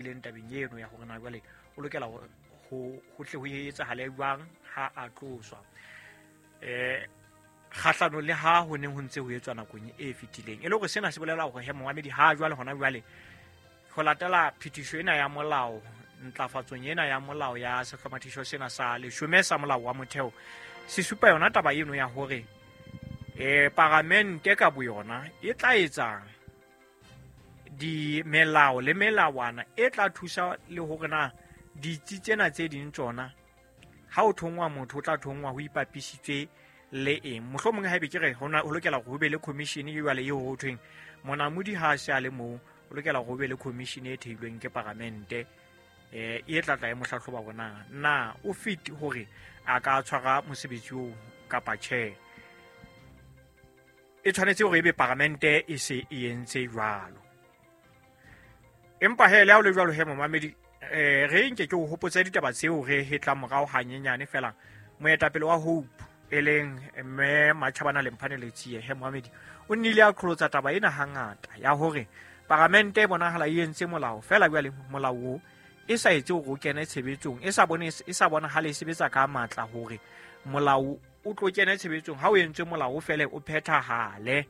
Leng tabeng eno ya hore na jwale o lokela ho tle ho etsahale jwang ha a tloswa, kgahlano le ha ho neng ho ntse ho etswa nakong e fetileng. E le hore sena se bolela hore he momamedi, ha jwale hona jwale ho latela phetiso ena ya molao, ntlafatsong ena ya molao ya sehlomathiso sena sa 10 sa molao wa motheo, se supa yona taba eno ya hore paramente ka boyona e tla etsang di melao le melawana e tla thusa le hore na ditsi tsena tse ding tsona ha o thongwa motho o tla thongwa ho ipapisitswe le eng. Mohlomong haebe ke re ho lokela hore ho be le commission e jwale eo ho thweng monamodi ha a se a le moo, o lokela hore ho be le commission e theilweng ke paramente, e tla tla e mo hlahloba hore na o fit hore a ka tshwara mosebetsi oo kapa tjhe. E tshwanetse hore ebe paramente e se e entse jwalo. Empa he le ha o le jwalo he momamedi, re nke ke o hopotse ditaba tseo re hetla morao hanyenyane fela. Moetapele wa Hope e leng mme Matjhabana Lemphane Letsie, he momamedi, o nnile a qholotsa taba ena hangata ya hore paramente e bonahala e entse molao fela jwale molao o e sa etse hore o kene tshebetsong, e sa bone, e sa bonahale e sebetsa ka matla hore molao o tlo kene tshebetsong. Ha o entswe molao o fele o phethahale.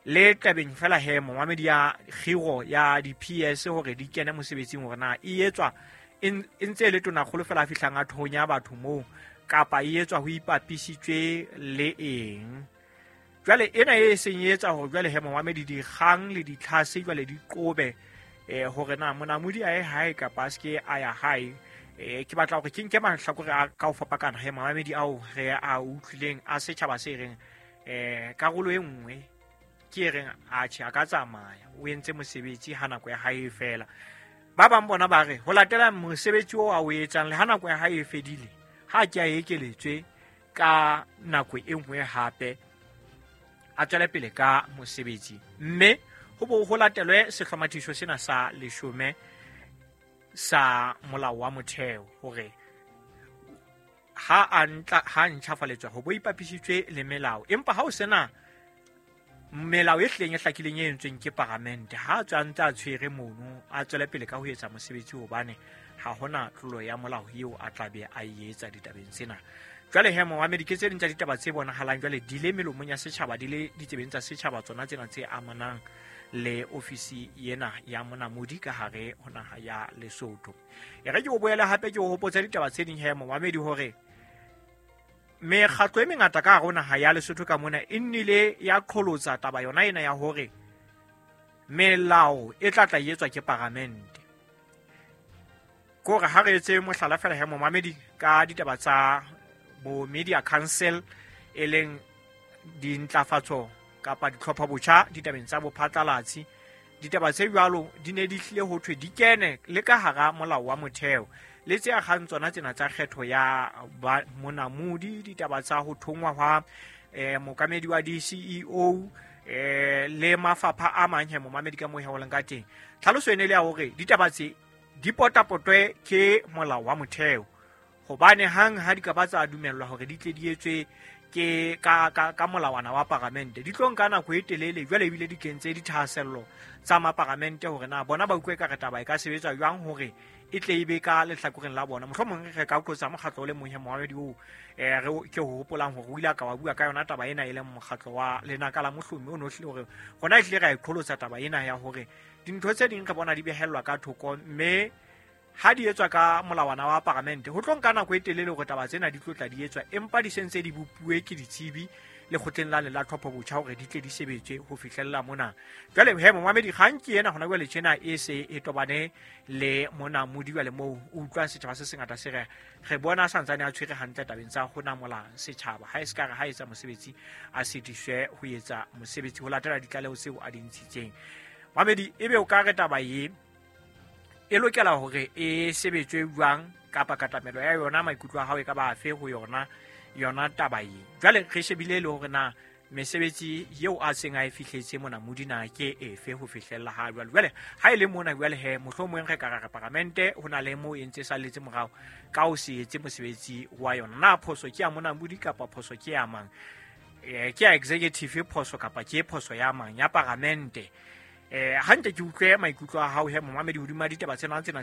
Le tabeng fela he momamedi ya kgiro ya di-PS hore di kene mosebetsing, hore na e etswa e ntse e le tonakgolo fela a fihlang a thonya batho moo, kapa e etswa ho ipapisitswe le eng. Jwale ena e seng e etsa hore jwale he momamedi dikgang le ditlhase jwale di qobe, hore na monamodi a ye hae kapa a seke a ya hae. Ke batla hore ke nke mahlakore a ka ho fapakana he momamedi ao re a utlwileng a setjhaba se reng, karolo e nngwe ke e reng atjhe a ka tsamaya, o entse mosebetsi ha nako ya hae e fela. Ba bang bona ba re ho latela mosebetsi oo a o etsang le ha nako ya hae e fedile, ha ke a ekeletswe ka nako e nngwe hape a tswele pele ka mosebetsi, mme ho bo ho latelwe sehlomathiso sena sa 10 sa molao wa motheo hore ha a ntla, ha ntjhafaletswa ho bo ipapisitswe le melao. Empa ha o sena melao e hlileng e hlakileng e entsweng ke paramente, ha a tswa a ntse a tshwere mono, a tswele pele ka ho etsa mosebetsi, hobane ha hona tlolo ya molao eo a tla be a e etsa ditabeng tsena. Jwale he momamedi, ke tse ding tsa ditaba tse bonahalang jwale di le melomong ya setjhaba, di le ditsebeng tsa setjhaba, tsona tsena tse amanang le ofisi ena ya monamodi ka hare ho naha ya Lesotho. E re ke o boele hape ke o hopotse ditaba tse ding he momamedi, hore mekgatlo e mengata ka hare ho naha ya Lesotho ka mona e nnile ya qholotsa taba yona ena ya hore melao e tla tla etswa ke paramente. Ke hore ha re etse mohlala fela he momamedi ka ditaba tsa bo Media Council, e leng dintlafatso kapa ditlhopha botjha ditabeng tsa bophatlalatsi. Ditaba tse jwalo di ne di hlile ho thwe di kene le ka hara molao wa motheo, le tse akgang tsona tsena tsa kgetho ya monamodi, ditaba tsa ho thongwa hwa mookamedi wa di-CEO, le mafapha a mang he momamedi ka moo he ho leng ka teng. Tlhaloso e ne le ya hore ditaba tse di potapotwe ke molao wa motheo, hobane hang ha di ka ba tsa dumellwa hore di tle di etswe ke ka molawana wa paramente, di tlo nka nako e telele. Jwale ebile di kentse dithahasello tsa maparamente hore na bona ba utlwe ekare taba e ka sebetswa jwang hore e tle e be ka lehlakoreng la bona. Mohlomong re ka qotsa mokgatlo o le mong he momamedi oo, re ke ho hopolang hore o ile a ka wa bua ka yona taba ena, e leng mokgatlo wa Lenaka la Mohlomi, o no hlile hore rona ehlile ra e qholotsa taba ena ya hore dintho tse ding re bona di behellwa ka thoko, mme ha di etswa ka molawana wa paramente ho tlo nka nako e telele hore taba tsena di tlo tla di etswa, empa di sentse di bopuwe ke ditsebi lekgotleng la le la tlhopho botjha hore di tle di sebetswe ho fihlella mona. Jwale he momamedi, kgang ke ena hona jwale tjena e se e tobane le monamodi jwale moo o utlwang setjhaba se sengata se re re bona a santsane a tshwere hantle tabeng tsa ho namola setjhaba, ha e se ka re ha etsa mosebetsi a sitiswe ho etsa mosebetsi ho latela ditlaleho tseo a di ntshitseng. Mamedi, ebe o ka re taba e e lokela hore e sebetswe jwang, kapa katamelo ya yona, maikutlo a hao e ka ba afe ho yona yona taba e? Jwale re shebile le hore na mesebetsi eo a seng a e fihletse monamodi na ke efe ho fihlella ha jwale. Jwale ha e le mona jwale he mohlomong re ka re paramente ho na le moo e ntse e salletse morao ka ho se etse mosebetsi wa yona. Na phoso ke ya monamodi kapa phoso ke ya mang? Ke ya executive phoso kapa ke phoso ya mang ya paramente? Ha nke ke utlwe maikutlo a hao he, momamedi, hodima ditaba tsena. Tsena